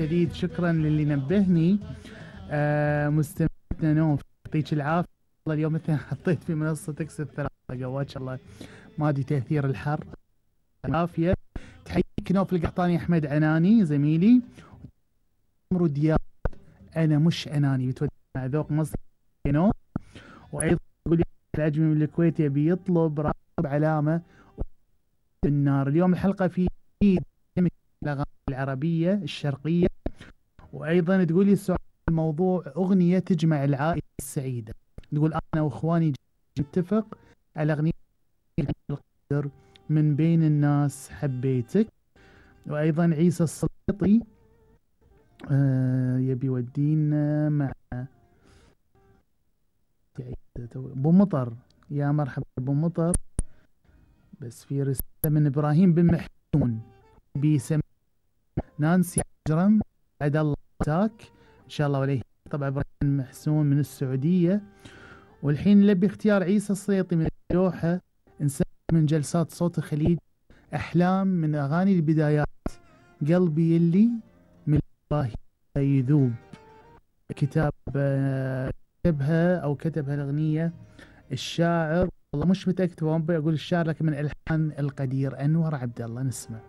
الشديد، شكرا للي نبهني. مستمعتنا نوف يعطيك العافية. والله اليوم مثلا حطيت في منصة تكسب 3 قوات الله، ما ادري تأثير الحر. العافية. تحييك نوف القحطاني، أحمد عناني زميلي، عمرو دياب أنا مش أناني بتودي مع ذوق مصر نوف. وأيضا يقول العجمي من الكويت يبي يطلب راقب علامة النار. اليوم الحلقة في الأغاني العربية الشرقية. وأيضا تقول لي السؤال الموضوع أغنية تجمع العائلة السعيدة. تقول أنا وإخواني نتفق على أغنية القدر من بين الناس حبيتك. وأيضا عيسى السلطي يبي يودينا مع أبو مطر. يا مرحبا أبو مطر. بس في رسالة من إبراهيم بن محسون بيسمي نانسي عجرم بعد الله تاك إن شاء الله عليه. طبعا إبراهيم محسون من السعودية. والحين نلبي اختيار عيسى السليطي من الدوحة، إنسان من جلسات صوت الخليج، أحلام من أغاني البدايات، قلبي يلي من الله يذوب. كتاب كتبها أو كتبها الأغنية الشاعر، والله مش متأكد، ما أقول الشاعر لكن من ألحان القدير أنور عبد الله. نسمع.